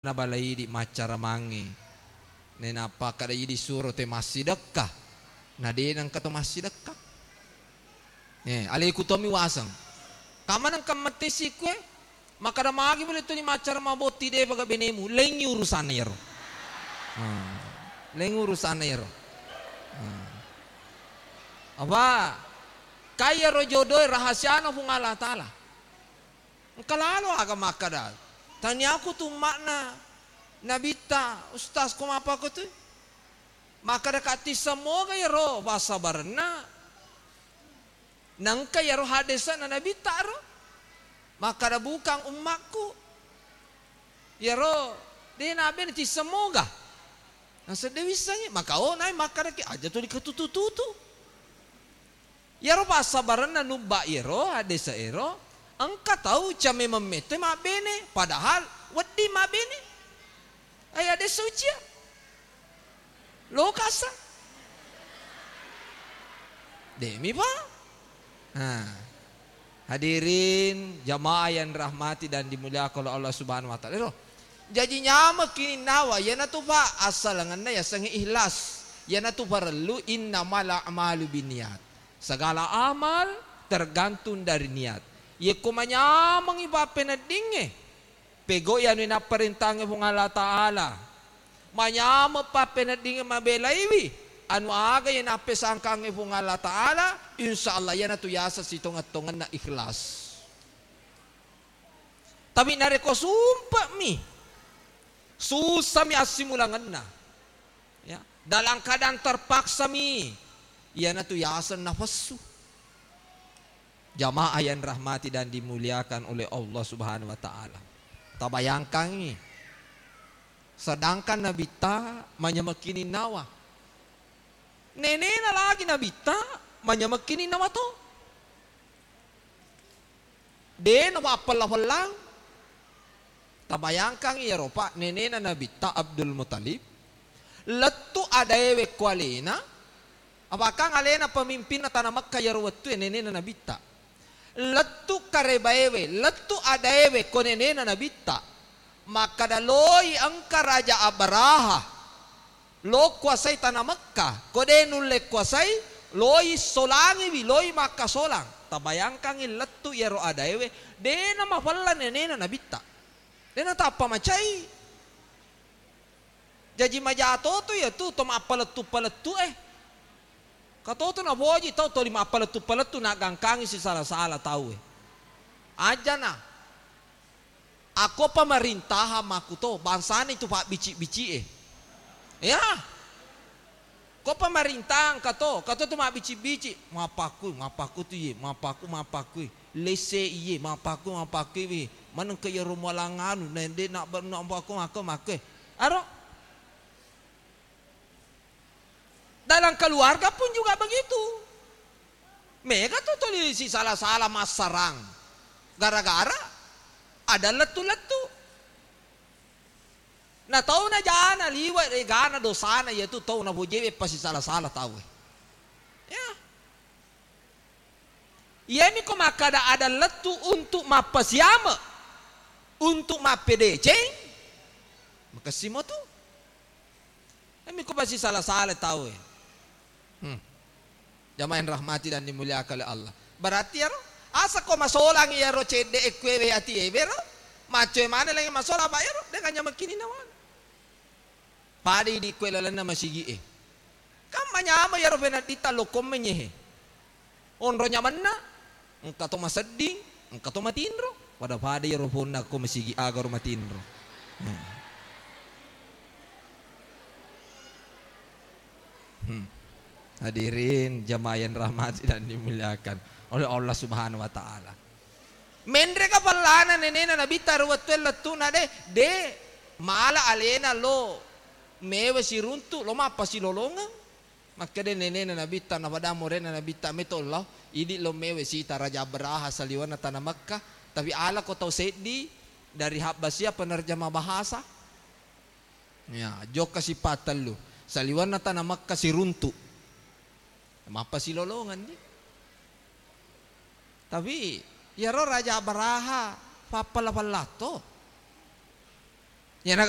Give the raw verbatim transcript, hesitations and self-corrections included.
Nabala idi maccara mange. Nainappa kada idi suro te massidekka. Na de nengka to massidekka. Eh, aleku tommi waseng. Kamma nengka mettesi kue? Makkada magi boleh toni maccara mabotti de paga benemu. Lengi urusan ero. Ah, lengi urusan ero. Ah. Apa? Kaya ro jodoe rahasiana Puang Allah Ta'ala. Engka lalo aga makkada, taniaku tu makna nabitta, ustaz, ko mapako tu? Makkada ka tisseng moga iyaro passabarenna. Nengka iyaro hadesana nabitta ro. Makkada bukang ummakku. Iyaro de nabe na tisseng moga. Nasedde wissengi, maka o nai makkadaki aja to dikatutu-tutu. Iyaro passabarenna nubba iyaro, hadese ero, engka tau came memmetto mabbene, padahal wedding mabbene. Ai hadese ucia. Lokasa. Demi pa. Nah. Hadirin jamaah yang rahmati dan dimuliakan oleh Allah Subhanahu wa Ta'ala. Ero, jaji nyameng kininnawa, iyanatu pa assalengenna yasengnge ikhlas. Iyanatu parellu innamal a'malu binniyat. Segala amal tergantung dari niat. Yekko manyamengngi pappeneddingnge, pegau'i anu napparentangnge Puang Allah Ta'ala. Manyameng pappeneddingnge mabelaiwi anu aga iya nappesangkangnge Puang Allah Ta'ala, insya Allah iyanatu yaseng sitongeng-tongenna ikhlas. Tapi narekko sumpe'mi, susami assimulangenna, ya, dalam keadaan terpaksami, iyanatu yaseng nafassu. Jamaah yang rahmati dan dimuliakan oleh Allah Subhanahu wa Ta'ala. Tabayangkangngi, sedangkan nabitta manyameng kininnawa. Nenena lagi nabitta manyameng kininnawa to. De napappella-pellang. Tabayangkang iyaro, Pak, nenena Nabitta Abdul Muthalib lettu adaewe ko alena, apakang alena pemimpinna tana Mekka iyaro wettue nenena Nabitta. Lettu karebaewe, lettu adaewe ko nenena Nabitta. Makkada, loi engka Raja Abraha. Lo kuasai tana Mekka, ko de nulle kuasai, loi solangiwi, loi makkasolang. Tabayangkangngi lettu iyaro adaewe, de namafella nenena Nabitta. De natappa macai. Jaji maja toto iyatu to mappalettu-palettu e. Katoto napoji tau toli mappalettu-palettu naggangkangi sisala-sala tau e. Ajana. Akko pemerintahan makkuto, bangsana itu pabbici-bici e. Ya. Ko pemerintahan kato, kato tu mabbici-bici, mapakku, mapakku tu ye, mapakku, mapakku. Lesse iye, mapakku, mapakku wi. Maneng ke iyaro mualang anu, nende nak ber-, nak mapakku, maka, maka. Aro. Dalam keluarga pun juga begitu. Mega tu tuli sisala-sala massarang. Gara-gara ada lettu-lettu. Na tau na jana liwe egana dosana, iyatu tau na bojewe pasisala-sala tau e. Ya. Iyami ko makkada ada lettu untuk mappasiame, untuk mappedeceng, makessimo tu. Iyami ko pasisala-sala tau e. Hmm. Jamaah yang rahmati dan dimuliakan oleh Allah. Berarti iyaro, asa ko masolang iyaro cedde e kuewe ati ewe ro, maccoe mane lagi masolang apa iyaro, dengan nyamakini nawana. Pada idi kue lalenna masigi e. Kan manyameng iyaro penadditta lokko menyehe. Onro nyamenna, engka to masedding, engka to matinro. Pada-pada iyaro ponna ko masigi aga ro matinro. Hmm. Hmm. Hadirin jamaah yang rahmati dan dimuliakan oleh Allah Subhanahu wa Ta'ala. Menreka pellana nenena Nabitta ro wettue lettuna de, de mala alena lo mewe siruntu, lo mappasilolongeng. Makkeda nenena Nabitta, napada morena Nabitta, meto lao, idi lo mewe sita Raja Abraha saliwenna tana Mekka, tapi ala ko tau seddi dari Habbasia penerjemah bahasa. Ya, jokka sipattellu. Saliwenna tana Mekka siruntu. Mappasilolongeng ni. Tapi iyaro Raja Abraha pappala-pallatto. Iyana